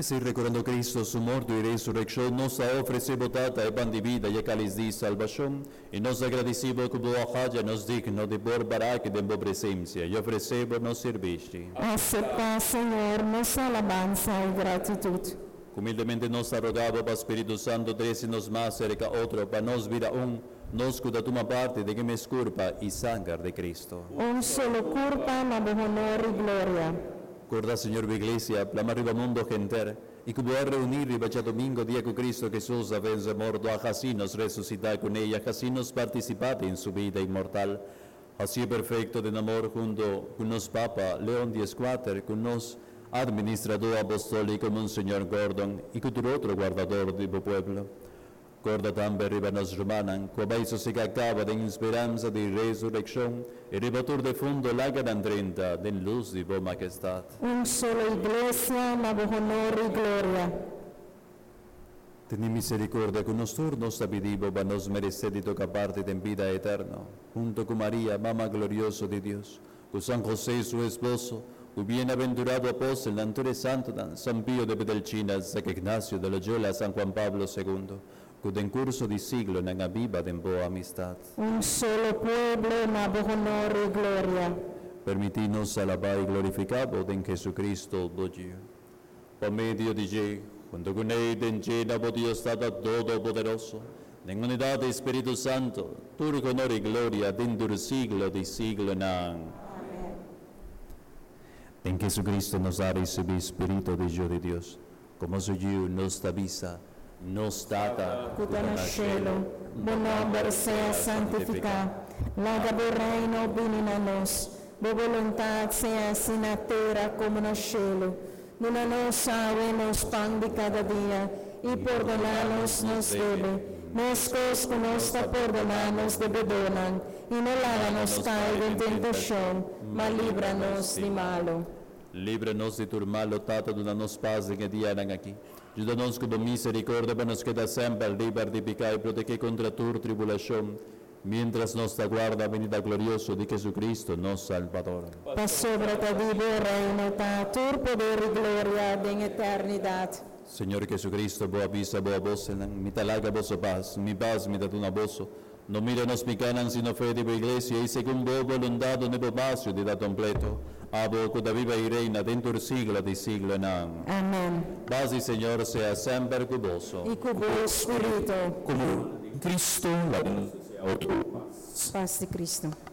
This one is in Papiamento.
P'esei, rekordando Kristu su morto i resurekshon, nos ta ofresé bo, Tata, e pan di bida i e kális di salbashon, i nos ta gradisí bo ku bo a haña nos digno di por para aki den bo presensia i ofresé bo nos sirbishi. Aseptá, Señor, nos alabansa i gratitut. Humildemente nos ta roga bo pa Spiritu Santu trese nos mas serka otro, pa nos bira un, nos ku ta tuma parti den e mes kurpa i sanger di Kristu. Un solo kurpa na bo honor i gloria. Korda, Señor, bo Iglesia, plama riba mundo henter, i ku bo a reuní riba djadumingo, dia ku Kristu Hesus a vense morto, a hasi nos resusitá kuné i a hasi nos partisipá den su bida inmortal. Hasié perfekto den amor hunto ku nos Papa Leon Dieskuater, ku nos Administradó Apostóliko Monseñor Gordon i ku tur otro guardador di bo pueblo. Korda tambe riba nos rumannan ku a bai sosegá kaba den speransa di resurekshon, i riba tur defunto laga nan drenta den lus di bo Mahestat. Un solo Iglesia na bo honor i gloria. Tene misericordia cu nos tur, nos ta pidi Bo pa nos merece di toca parti den bida eterno, hunto cu Maria, Mama glorioso di Dios, cu San José, su esposo, cu bienaventurado apostelnan, tur e santonan, San Pio de Pedelcina, San Ignacio de Loyola, San Juan Pablo Segundo, cu den curso di siglonan a biba den Bo amistad. Un solo pueblo na Bo honor y gloria. Permiti nos alaba y glorifica Bo den Jesucristo, Bo Yiu. Pa medio di dje, hunto ku n'e i den dje na bo Dios Tata Todopoderoso, den unidat di Spiritu Santo, tur honor i gloria den tur siglo di siglonan. Amen. Den Jesucristo nos a ricibi Spirito di Yu di Dios. Como su Yu nos ta bisa, Nos Tata, Ku ta na shelu, bo nòmber sea santifiká. Laga bo Reino bini na nos. Bo boluntat sea hasi na tera komo na shelu. Duna nos awe nos pan di kada dia, i pordoná nos nos debe, meskos ku nos ta pordoná nos debedónan, i no laga nos kai den tentashon, ma libra nos di malu. Libra nos di tur mal, o Tata, duna nos pas den e dianan aki. Juda nos ku bo miserikordia pa nos keda semper liber di piká i protegé kontra tur tribulashon, Mientras nos ta guarda venida glorioso di Jesucristo, nos Salbador. Pasobra ta di bo Reino ta tur poder i gloria den eternidat. Señor Jesucristo, bo a bisa bo apostelnan, Mi ta laga boso pas, mi pas mi ta duna boso. No mira nos picanan, sino fe di bo Iglesia, i segun bo boluntad dune bo pas i unidad completo. Abo cu ta biba i reina den tur siglo di siglonan. Amen. Pas di Señor sea semper cu boso. I cu bo spirito. Como den Cristo, laga nos desea otro pas. Pas di Cristo.